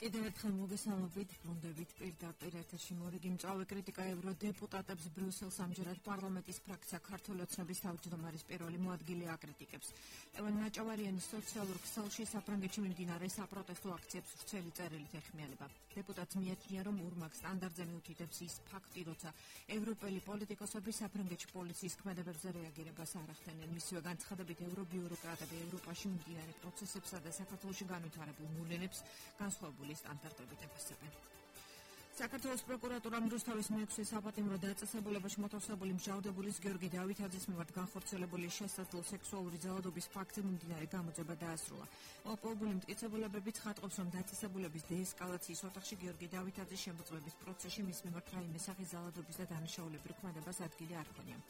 კიდევ ერთხელ მოგესალმებით, ბრუნდებით პირდაპირ ეთერში მორიგი მწვავე კრიტიკა ევროდეპუტატებს ბრიუსელს ამჯერად პარლამენტის ფრაქცია ქართველი ოცნების თავმჯდომარის პირველი მოადგილე აკრიტიკებს. ლევან ნაჭავარიანის სოციალურ ქსელში საფრანგეთში მიმდინარე საპროტესტო აქციებს ვრცელი წერილით ეხმიანება. დეპუტატს მიაჩნია, რომ ურმაგ სტანდარტზე მიუთითებს ის ფაქტი, როცა ევროპელი პოლიტიკოსები საფრანგეთში პოლიციის ქმედებებზე რეაგირებას არ ახდენენ. მისივე განცხადებით ევრობიუროკრატები ევროპაში მიმდინარე პროცესებსა და საქართველოში განვითარებულ მოვლენებს განსხვავებული სტანდარტებით აფასებენ. საქართველოს პროკურატურამ რუსთავის მეექვსე საპატიმრო დაწესებულებაში მოთავსებული მჟავრდებულის გიორგი დავითაძის მიმართ განხორციელებული შესაძლო სექსუალური ძალადობის ფაქტზე მიმდინარე გამოძიება დაასრულა. მოპოვებული მტკიცებულებები ცხადყოფს, რომ დაწესებულების დეესკალაციის ოთახში გიორგი დავითაძის შემოწმების პროცესში მის მიმართ რაიმე სახის ძალადობის და დანაშაულებრივ ქმედებას ადგილი არ ჰქონია.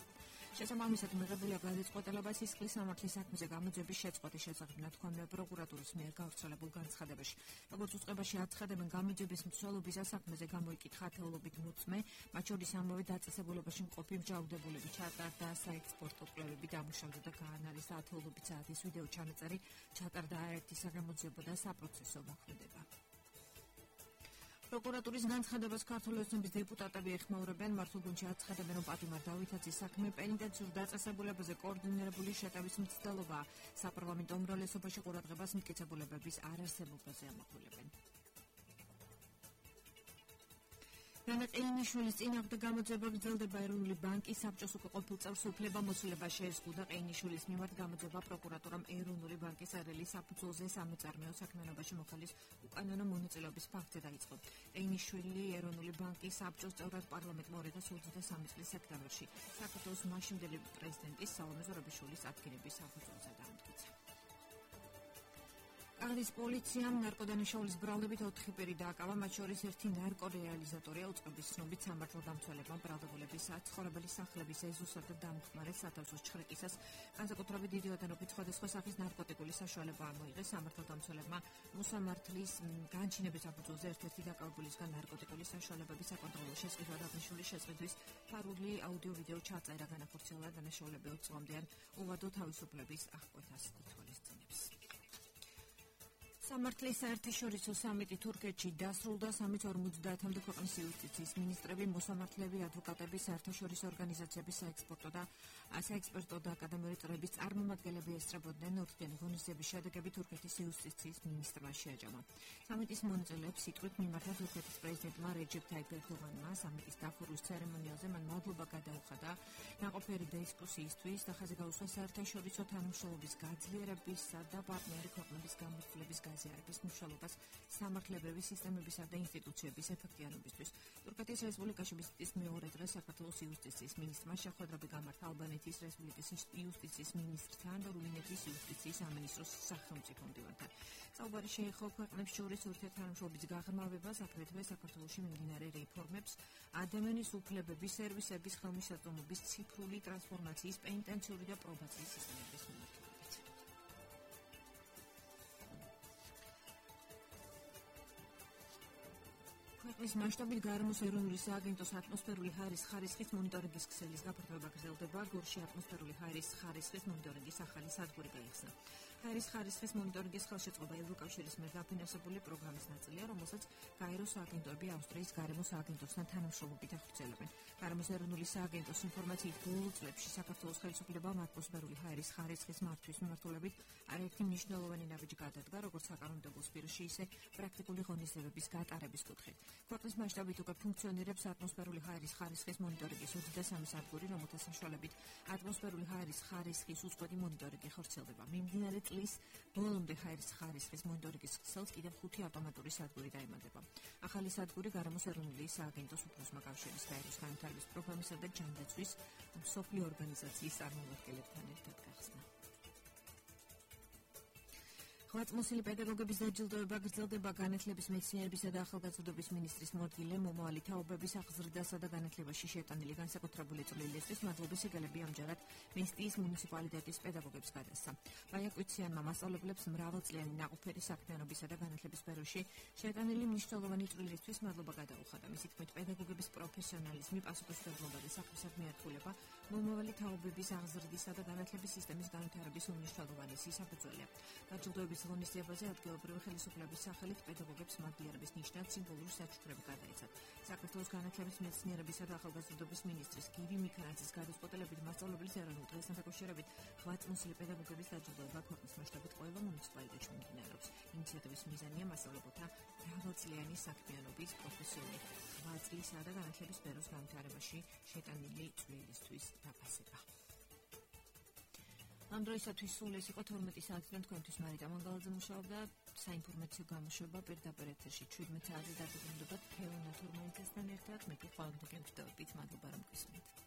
შესაბამისად მიღებულია გადაწყვეტილება სისხლის სამართლის საქმეზე გამოძიების შეწყვეტის შესახებ ნათქვამია პროკურატურის მიერ გავრცელებულ განცხადებაში. როგორც უწყებაში აცხადებენ, გამოძიების მსვლელობის საქმეზე გამოიკითხა ათეულობით მოწმე, მათ შორის ამავე დაწესებულებაში მყოფი მჟავრდებულები ჩატარდა საექსპორტო კვლევები დამუშავდა და გაანალიზა ათეულობით საათის ვიდეო ჩანაწერი, ჩატარდა არაერთი საგამოძიებო და საპროცესო მოქმედება. პროკურატურის განცხადებას ქართული ოცნების დეპუტატები ეხმაურებენ, მართლგუნდში აცხადებენ, რომ პატიმარ დავითაძის საქმე პენიტენციურ დაწესებულებაზე კოორდინირებული შეტევის მცდელობაა. საპარლამენტო უმრავლესობაში ყურადღებას მტკიცებულებების არარსებობაზე ამახვილებენ. რანა ყეინიშვილის წინააღმდეგ გამოძიება გრძელდება. ეროვნული ბანკის საბჭოს უკვე ყოფილ წევრს უფლებამოსილება შეეზღუდა. ყეინიშვილის მიმართ გამოძიება პროკურატურამ ეროვნული ბანკის არელის საფუძველზე სამეწარმეო საქმიანობაში მოხელის უკანონო მონაწილეობის ფაქტზე დაიწყო. ყეინიშვილი ეროვნული ბანკის საბჭოს წევრად პარლამენტმა 2023 წლის სექტემბერში საქართველოს მაშინდელი პრეზიდენტის სალომე ზურაბიშვილის ადგენების საფუძველზე დაამტკიცა. კახეთის პოლიციამ ნარკოდანაშაულის ბრალდებით 4 პირი დააკავა, მათ შორის ერთი ნარკორეალიზატორია. უწყების ცნობით სამართალდამცველებმა ბრალდებულების საცხოვრებელი სახლების ეზოსა და დამხმარე სათავსოს ჩხრეკისას განსაკუთრებით დიდი ოდენობით სხვადასხვა სახის ნარკოტიკული საშუალება ამოიღეს. სამართალდამცველებმა მოსამართლის განჩინების საფუძველზე ერთ-ერთი დაკავებულისგან ნარკოტიკული საშუალებების საკონტროლო შესყიდვა აღნიშნული შესყიდვის ფარული აუდიო-ვიდეო ჩაწერა, განახორციელა დანაშაულები 20 წლამდე უვადო თავისუფლების აღკვეთას ითვალისწინებს. სამართლის საერთაშორისო სამიტი თურქეთში დასრულდა. 350-მდე ქვეყნის იუსტიციის მინისტრები, მოსამართლეები, ადვოკატები, საერთაშორისო ორგანიზაციების საექსპერტო და აკადემიური წრეების წარმომადგენლები ესწრებოდნენ. ორთქიანი ღონისძიების შედეგები თურქეთის იუსტიციის მინისტრმა შეაჯამა. სამიტის მონაწილეებს სიტყვით მიმართა თურქეთის პრეზიდენტმა რეჯეფ ტაიპ ერდოღანმა. სამიტის დახურვის ცერემონიალზე მან მადლობა გადაუხადა ნაყოფიერი დისკუსიისთვის და ხაზი გაუსვა საერთაშორისო თანამშრომლობის გაძლიერებისა და პარტნიორი ქვეყნების გამოცდილების ზიარების მუშაობას სამართლებრივი სისტემებისა და ინსტიტუციების ეფექტიანობისთვის. თურქეთის რესპუბლიკაში ვიზიტის მეორე დღეს საქართველოს იუსტიციის მინისტრმა შეხვედრები გამართა ალბანეთის რესპუბლიკის იუსტიციის მინისტრთან და რუმინეთის იუსტიციის სამინისტროს სახელმწიფო მდივანთან. საუბარი შეეხო ქვეყნებს შორის ურთიერთთანამშრომლობის გაღრმავებას, აგრეთვე საქართველოში მიმდინარე რეფორმებს, ადამიანის უფლებების, სერვისების ხელმისაწვდომობის, ციფრული ტრანსფორმაციის, პენიტენციური და პრობაციის სისტემების მიმართულებით. ქვეყნის მასშტაბით გარემოს ეროვნული სააგენტოს ატმოსფერული ჰაერის ხარისხის მონიტორინგის ქსელის გაფართოება გრძელდება. გორში ატმოსფერული ჰაერის ხარისხის მონიტორინგის ახალი სადგური გაიხსნა. ჰაერის ხარისხის მონიტორინგის ხელშეწყობა ევროკავშირის მიერ დაფინანსებული პროგრამის ნაწილია, რომელსაც გაეროს სააგენტოები ავსტრიის გარემოს სააგენტოსთან თანამშრომლობით ახორციელებენ. გარემოს ეროვნული სააგენტოს ინფორმაციით ბოლო წლებში საქართველოს ხელისუფლებამ ატმოსფერული ჰაერის ხარისხის მართვის მიმართულებით არაერთი მნიშვნელოვანი ნაბიჯი გადადგა, როგორც საკანონმდებლო სფეროში, ისე პრაქტიკული ღონისძიებების გატარების კუთხით. ქვეყნის მასშტაბით უკვე ფუნქციონირებს ატმოსფერული ჰაერის ხარისხის მონიტორინგის 23 სადგური, რომელთა საშუალებით ატმოსფერული ჰაერის ხარისხის უწყვეტი მონიტორინგი ხორციელდება. მიმდინარე წლის ბოლომდე ჰაერის ხარისხის მონიტორინგის ქსელს კიდევ 5 ავტომატური სადგური დაემატება. ახალი სადგური გარემოს ეროვნული სააგენტოს უფროსმა კავშირის გაეროს განვითარების პროგრამისა და ჯანდაცვის მსოფლიო ორგანიზაციის წარმომადგენლებთან ერთად გახსნა. ღვაწლმოსილი პედაგოგების დაჯილდოება გრძელდება. განათლების, მეცნიერებისა და ახალგაზრდობის მინისტრის მოადგილე მომავალი თაობების აღზრდასა და განათლებაში შეტანილი განსაკუთრებული წვლილისთვის მადლობის სიგელები ამჯერად მესტიის მუნიციპალიტეტის პედაგოგებს გადასცა. მაიაკვიციანმა მასწავლებლებს მრავალწლიანი ნაყოფიერი საქმიანობისა და განათლების სფეროში შეტანილი მნიშვნელოვანი წვლილისთვის მადლობა გადაუხადა. მისი თქმით, პედაგოგების პროფესიონალიზმი, პასუხისმგებლობა და საქმისადმი ერთგულება მომავალი თაობების აღზრდისა და განათლების სისტემის განვითარების უმნიშვნელოვანესი საფუძველია. დაჯილდოების ღონისძიებაზე ადგილობრივი ხელისუფლების სახელით პედაგოგებს მადლიერების ნიშნად სიმბოლური საჩუქრები გადაეცათ. საქართველოს განათლების მეცნიერებისა და ახალგაზრდობის მინისტრის გივი მიქარაძის გადაწყვეტილებით მასწავლებლის ეროვნულ დღესთან დაკავშირებით 8 წლიანი პედაგოგების დაჯილდოება ქვეყნის მასშტაბით ყველა მუნიციპალიტეტში მიმდინარეობს. ინიციატივის მიზანია მასწავლებელთა მრავალწლიანი საქმიანობის პროფესიული 8 წლისა და განათლების სფეროს განვითარებაში შეტანილი წვლილისთვის დაფასება. ამ დროისათვის სულ ეს იყო 12 საათიდან თქვენთვის მარიტა მანგალაძე მუშაობდა საინფორმაციო გამოშვება პირდაპირ ეთერში 17 საათზე დაგუბრუნდებათ თეონა თურმანიძესთან ერთად მე კი ხვალამდე გემშვიდობებით მადლობა რომ გისმენთ